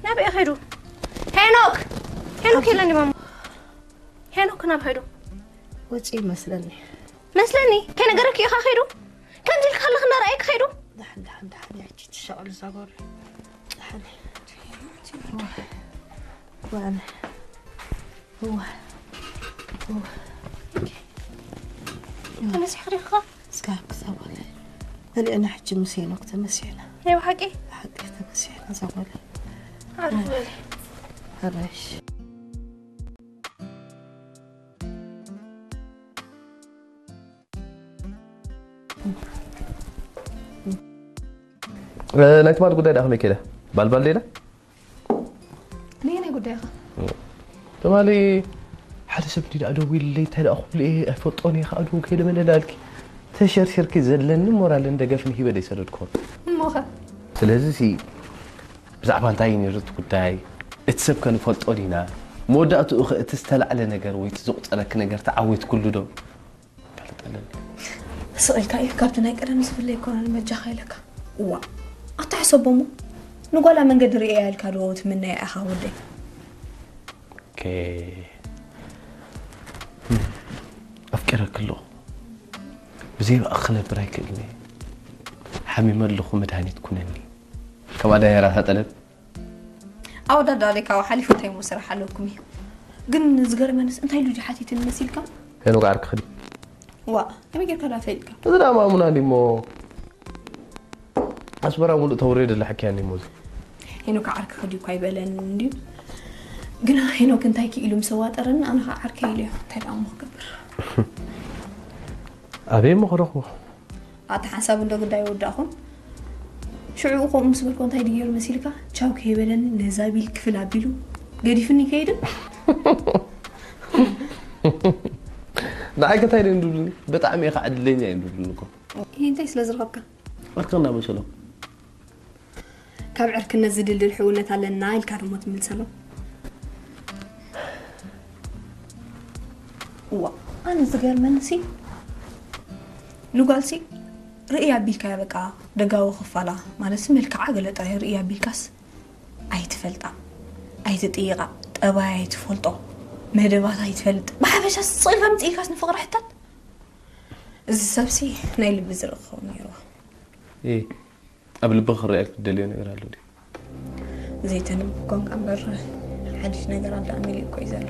ናበይ ኸይዱ? ሄኖክ! ሄኖክ የለን ማማ። ሄኖክ ናብ ኸይዱ? ወፂ ይመስለኒ። መስለኒ? ከይነገረክ ኢኻ ኸይዱ? ከምዚ ኢልካ ኣለኽ እናረኣየክ ኸይዱ? ደሓን፣ ደሓን፣ ደሓን፣ ያቺ ትሻቐሉ እዛ ጓል። ደሓን። ዋነ። እዋ። እዋ። ተመሲሕካ ዲኻ? እስካ ክሳብ በላይ። መሊእና ሕጂ ምስ ሄኖክ ተመሲሕና። ናይ ብሓቂ? ብሓቂ ተመሲሕና እዛ ጓል። ዓርፍ በሊ። ሕራሽ። እ፣ ናይ ትማሊ ጉዳይ ደኣ ከመይ ከይደ? ባልባል ደይዳ? ነየናይ ጉዳይ ኢኻ? ትማሊ ሓደ ሰብ እንዲ ደኣ ደዊሉለይ፣ እንታይ ደኣ ክብሉ እየ፣ ኣይፈልጦን እየ፣ ከኣ ደው ከይደ መለላልኪ። ተሸርሸርኪ ዘለኒ ሞራልን ደገፍን ሂበ ደይሰደድኩ። እሞኸ? ስለዚ ሲ ብዛዕባ እንታይ እዩ ነይሩ እቲ ጉዳይ? እቲ ሰብ ከ ንፈልጦ ዲና? መወዳእትኡ ኸ እቲ ዝተላዕለ ነገር ወይ እቲ ዘቑጸረኪ ነገር ተዓዊትኩሉ ዶ? ይፈልጠለኒ። ስቕ ኢልካ እዩ፣ ካብቲ ናይ ቀደም ዝፍለ ኣይኮነን፣ በጃኻ ኢለካ። እዋ፣ ኣታ ሕሰቦ እሞ፣ ንጓላ መንገዲ ርእያ ኢልካ ዶ ትምነያ ኢኻ ወደይ? ኦኬ። ኣፍቂረኪ ኣለኹ። ብዘይ ብኣኺ ክነብር ኣይክእልን እየ። ሓሚመ ኣለኹ፣ መድሃኒት ኩነኒ። ከምኣ ድያ ራእሳ ጠለብ? ኣወዳድባ ደይ ካብኡ ሓሊፉ እንታይ እሞ ስራሕ ኣለኩም እዩ? ግን ዝገርመንስ እንታይ ኢሉ ድዩ ሓቲትኒ መሲልካ? ሄኖክ ዓርክኺ ድዩ? ዋእ፣ ከመይ ጌርካ ደኣ ፈሊጥካ? እዚ ደኣ ማሙና እንዲ እሞ ኣስመራ ሙሉእ ተውሬ ደላ ሓኪያ እንዲ እሞ እዚ። ሄኖክ ዓርክኺ ድዩ እኳ ኣይበለንን እንድዩ። ግና ሄኖክ እንታይ ክኢሉ ምስ ኣዋጠረኒ ኣነ ኸዓ ዓርከይ ኢለዮ። እንታይ ደኣ እሞ ክገብር? ኣበይ እሞ ክረኽቦ? ኣታ ሓንሳብ እንዶ ግዳይ ወዳእኹም። ሽዑ ከምኡ ምስ በልኮ እንታይ ድዩ ገይሩ መሲልካ? ቻው ከይበለኒ ነዛ ቢል ክፍል ኣቢሉ ገዲፍኒ ይከይድን? ንዓይ ከ እንታይ ድዩ እንድብሉኒ? ብጣዕሚ ኢኻ ዕድለኛ እዩ እንድብሉኒ እኮ። ይሄ እንታይ ስለ ዝረኸብካ? ዕርክና መሰሎም። ካብ ዕርክነት ዝድልድል ሕውነት ኣለና ኢልካ ደሞ ትምልሰሎም። እዋ፣ ኣነ ዝገርመንሲ ንጓልሲ ርእያ ኣቢልካያ በቃ ደጋዊ ክፋላ ማለትሲ መልክዓ ገለ ጥራይ ርእያ ኣቢልካስ ኣይትፈልጣ፣ ኣይትጥይቓ፣ ጠባያ ኣይትፈልጦ፣ መደባት ኣይትፈልጥ። ብሓፈሻ ስቕ ኢልካ ምጽእ ኢልካስ ንፍቕሪ ሕታት። እዚ ሰብሲ ናይ ልቢ ዝርኢ ክኸውን ነይርዎ። እ፣ ኣብ ልቢ ክረኣየልክ ትደልዮ ነገር ኣሎ ድዩ? ዘይተንብብ ኮንካ እምበር ሓድሽ ነገራት ደኣ መሊኡ እኮ እዩ ዘሎ።